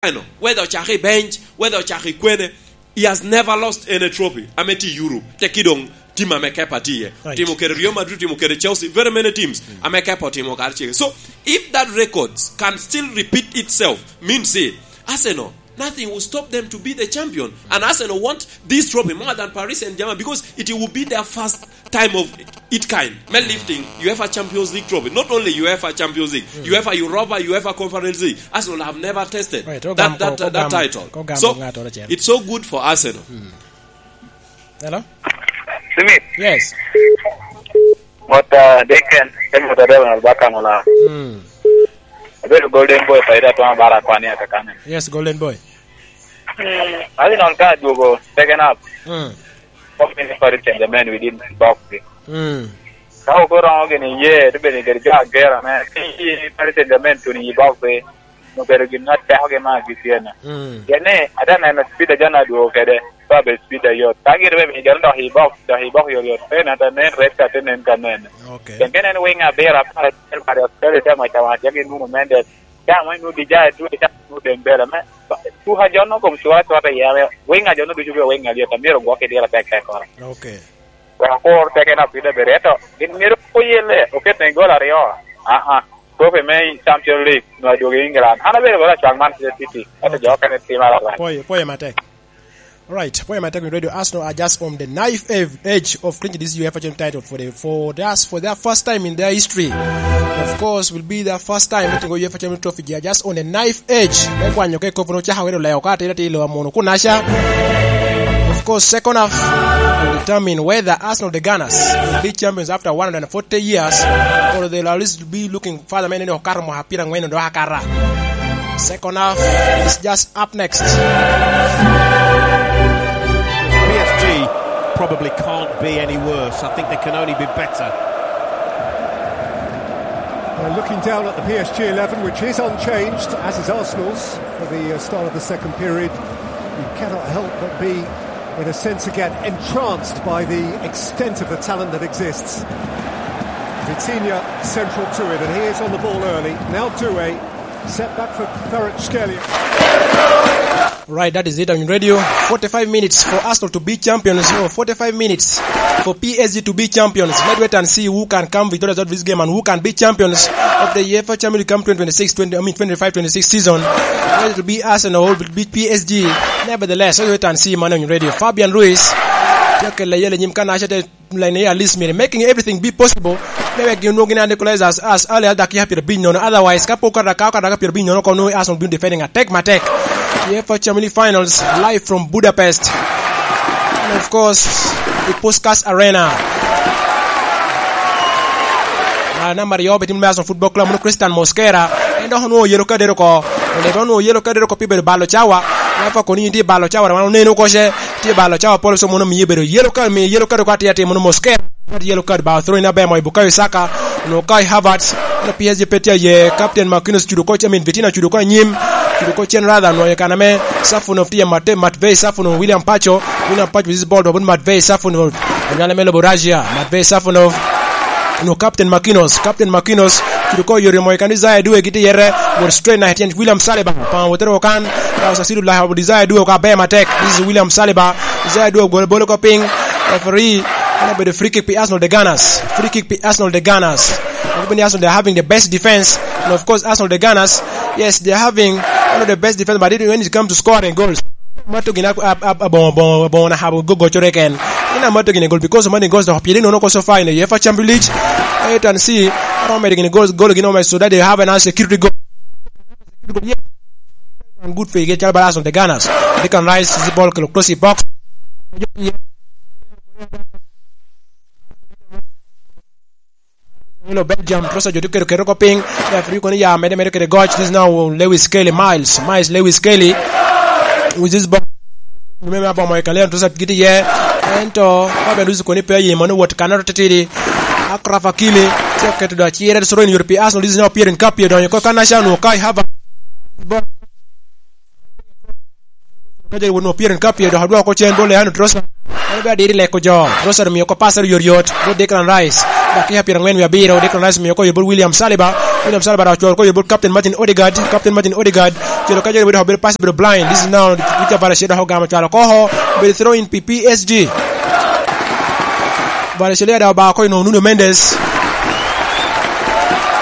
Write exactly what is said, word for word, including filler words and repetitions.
Eno, whether ocako i bench, whether ocako i kwene, he has never lost any trophy. Ame tye i Europe, tekki doŋ tim ame Kepa tye iye. Right. Timo kede Real Madrid, timo kede Chelsea, very many teams. Mm. Ame Kepa otimo kare cege. So, if that records can still repeat itself, means say, Arsenal, nothing will stop them to be the champion. And Arsenal want this trophy more than Paris Saint-Germain because it will be their first time of its kind. Me lifting UEFA Champions League trophy. Not only UEFA Champions League, Mm. UEFA Europa, UEFA Conference League. Arsenal have never tested Right, that, ogam-, that, that ogam-, title. Ogam-, So, ogam-, it's so good for Arsenal. Mm. Hello? Smith. Yes. Mot, uh, Deacon, en mot adek na baka mola. Mm. Abedo Golden Boy, pa ida twa bara kwani ata kane. Yes, Golden Boy. Mm. Abi non ka duogo second half. Mm. Pok ni Paris Saint-Germain within box. Mm. Ka oko romo gini ye, to bene geri jo agera me. Ki Paris Saint-Germain tuni i box. Obedo gin ma tekogi ma gitye-ni. Mm. Pien ni ate neno speed a John adwogo kede, pe abedo speed ayot. Ka gin bene gin dok i box, dok i box yot yot. Pe nen ate nen, red card te nen ka nen. Okay. Pien ka nen wing abiro, apar acel, Mario Australia te maca maca, gin Nuno Mendes. Ca mo inwoŋo Dijay, dwe ca inwoŋo Dembele. Me, tuka John no kom cura cura te yeme. Wing a John no ducu bino wing alyet, a myero gwok i dire tek tek koro. Okay. Wek akur teke na pide bere, eto gin myero oyelle, oket ne gol aryo. Ah, ah. Trophy me Champions League, nwa dwogo i England. An abedo bala cwag Manchester City, eto Okay. jo okene tim ara. Pwoyo, pwoyo matek. All right, pwoyo matek, Radio Arsenal are just on the knife edge, edge of clinching this UEFA Champions title for the, for the, for their first time in their history. Of course, will be their first time getting UEFA Champions Trophy. They are just on the knife edge. Me kwanyo ke kopo no chaka wero leo ka tira tilo amono kunacha. Of course, second half will determine whether Arsenal, the Gunners, will be champions after one hundred forty years, or they'll at least be looking further, man, you know, kar mo hapira ngweno do akara. Second half is just up next. P S G probably can't be any worse. I think they can only be better. Well, looking down at the P S G eleven, which is unchanged, as is Arsenal's, for the, uh, start of the second period, you cannot help but be, in a sense again, entranced by the extent of the talent that exists. Vitinha central to it, and he is on the ball early. Now Doué, set back for Kvaratskhelia. Right, that is it on radio. Forty-five minutes for Arsenal to be champions, or forty-five minutes for P S G to be champions. Let's wait and see who can come victorious out of this game and who can be champions of the UEFA Champions League come twenty twenty-six, twenty, I mean, twenty-five twenty-six season. Whether it will be Arsenal or it will be P S G. Nevertheless, let's wait and see, man, on radio. Fabian Ruiz, Jack Layele, Nyim Kanasha, line at least, making everything be possible. Maybe you know, gin equalize as, as early as dakika pyerabiny nono. Otherwise, ka pok ka dakika, ka dakika pyerabiny nono, kono Arsenal been defending attack, matek. UEFA Champions League Finals, live from Budapest. And of course, the Puskas Arena. Ah, namba aryo, betim me Arsenal Football Club, mono Christian Mosquera. En dok onwoŋo yelo kadero oko. Onwoŋo onwoŋo yelo kadero oko pi bedo balo cawa. Wan pa kono in tye balo cawa, wan oneno oko ce. Tye balo cawa polo, so mono miyo bedo yelo card, miyo yelo card oko atir atir, mono Mosquera. Yelo card ba throw in aber mo i Bukayo Saka. Onwoŋo Kai Havertz. Mono P S G pe tye aye. Captain Marquinhos cudo oko, I mean, Vitinha cudo oko anyim. Cudo oko cen rather, onwoŋo i kan ame Safonov tye, Mate-, Matvei Safonov, William Pacho. William Pacho with this ball, to Matvei Safonov. Anyala me lobo Russia. Matvei Safonov. No, Captain Marquinhos, Captain Marquinhos, cudo oko yore mo i kan Desire Due giti yere, wot straight na hetyen William Saliba, pa wotero kan, pa Sasidu la Desire Due ka be matek, this is William Saliba, Desire Due gol bolo ko piny, referee, ana bedo free kick pi Arsenal the Gunners, free kick pi Arsenal the Gunners, of course Arsenal, they are having the best defense, and of course Arsenal the Gunners, yes, they are having one of the best defense, but it, when it comes to scoring goals, Mato gin ab-, ab-, ab-, aboŋo, aboŋo, aboŋo na habo go-, gocoro eken. Gin amato gin egol because money goes to piri nono ko so far in the UEFA Champions League. Wait and see. Aromo medo gin goal, goal gin omedo so that they have an security goal. And good for you, get Chalbalas on the Gunners. They can rise the ball close to box. Milo Belgium, Trossard jo tye keto keto oko piny. Referee kono ya mede mede kede goc. This is now Lewis Kelly, Miles, Miles Lewis Kelly. With this ball. Me me abomo i Kalian Trossard giti ye. Ento, Fabian Ruiz kono pe aye mano wot kanoro titidi. Akraf Hakimi, tye oketo do acire, soro in yot pi Arsenal, this is now Pierre Nkapie, donyo ko Kanasha, no Kai Havertz. Ka jeri won opira ni ka pye dok adwoko cen bot Leandro Trossard. En be adiri leko jo. Trossard omio ko passer yot yot bot Declan Rice. Dakika pyerangwen wie abiro, Declan Rice omio ko yot bot William Saliba. William Saliba dok ocwalo ko i bot Captain Martin Odegaard. Captain Martin Odegaard cwalo ka joni bedo, bedo pass, bedo blind. This is now, Peter Valencia dok ogamo cwalo koko. Bedo throw in pi P S G. Valencia dok obao ko i Nuno Mendes.